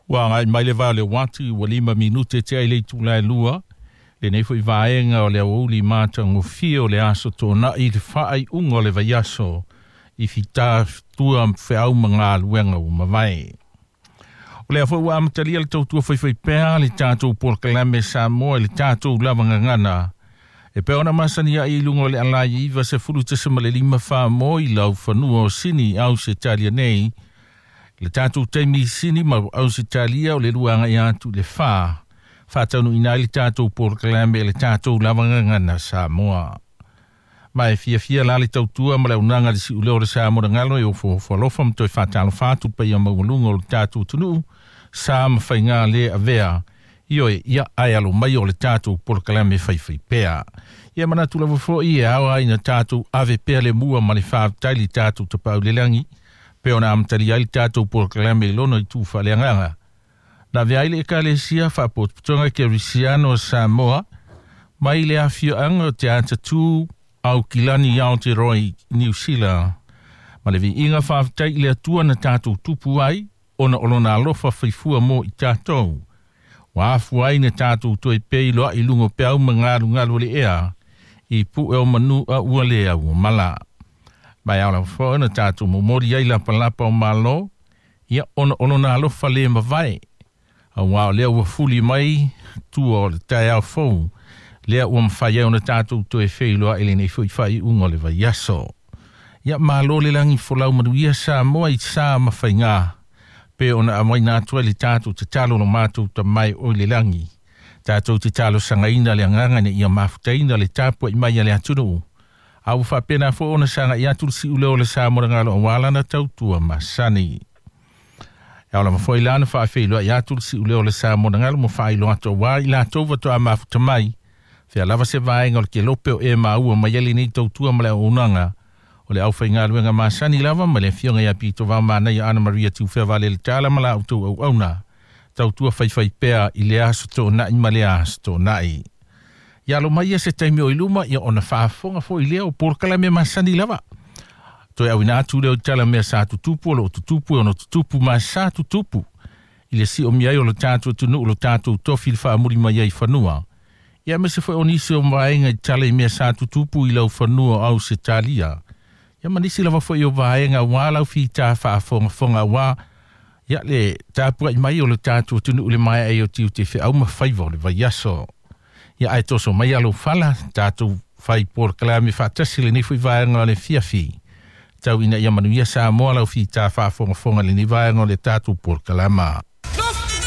Ua agai mai le va o le uati ua 5 minute tea i le itula e 2. Lenei foi vaega o le aoauli matagofie o le aso Toonai, le faaiuga o le vaiaso i fitā tua feau ma galuega ua mavae. O lea foi ua amatalia le tautua faifaipea le tatou polokalame Samoa i le tatou lava gagana. E pei ona masani ai i luga o le alaia 90.5 mo i lau fanua o Sini, Ausetalia nei. Le tatou taimi i Sini ma Ausetalia o le 2 agai atu i le 4. Faataunuuina ai le tatou polokalame i le tatou lava gagana Samoa. Ma e fiafia la le tautua ma le auaunaga le siuleo o le Samoa na galo e ofoofo alofa ma toe faatalofa atu paia maualuga o le tatou atunuu sa ma faiga le avea. Ioe, ia ae alo mai o le tatou polokalame faifaipea. Ia manatu lava foi e ao ai na tatou ave pea le mua ma le faafetai i le tatou Tapaau i le Lagi, pe ona amatalia ai le tatou polokalame i lona itu faaleagaga. Na avea ai le Ekalesia Faapotopotoga Kerisiano o Samoa mai le afioaga o Te Atatū Aukilani i Aotearoa i Niu Sila. Ma le viiga faafetai i le Atua na tatou tupu ai, ona o lona alofa faifua mo i tatou. Ua afua ai na tatou toe feiloai i luga o peau ma galugalu o le ea, i pue o manu a ua le au mala. Ma e ao lava foi na tatou momoli ai lapalapa o malo, ia ona o lona alofa le mavae. Auā o lea ua fuli mai tua o le taeao fou, lea ua mafai ai ona tatou toe feiloai i lenei foi faaiuga o le vaiaso. Ia malo le lagi folau manuia Samoa i sa ma faiga. Pe ona aumaina atu ai le tatou tatalo lo matou tamai o i le lagi. Tatou te talosagaina le agaga ina ia mafutaina le tapuai mai a le atunuu. A ua faapena foi ona sagai atu le siuleo o le Samoa galo aua lana tautua masani. E ao lava foi la na faafeiloai atu le siuleo o le Samoa galo mo faailoa atu aua i latou faatoa mafuta mai. Fea lava se vaega o le kelope o e maua mai ai lenei tautua ma le auaunaga. O le aufaigaluega masani lava ma le afioga ia Pito Vaomanaia Ana Maria Tiufea Valele Tala ma la outou auauna. Tautua faifaipea i le aso Toonai ma le aso Toonai. Ia alo mai ia se taimi o i luma, ia ona faafofoga foi lea o polokalame masani lava. Toe auina atu lea o tala mea sa tutupu o loo tutupu e ono tutupu ma sa tutupu. I le siomia ai o le tatou atunuu lo tatou tofi le faamuli mai ai fanua. Ia aemaise foi o nisi o vaega i tala i mea sa tutupu i lau fanua o Ausetalia. Ia ma nisi lava foi o vaega aua lau fita faafogafoga aua ia le tapuai mai o le tatou atunuu le maea ai o tiute feau ma faiva o le vaiaso. Ia ae toso mai alo fala tatou fai polokalame faatasi lenei foi vaega o le fiafi. Tau ina ia manuia Samoa lau fita faafogafoga lenei vaega o le tatou polokalama.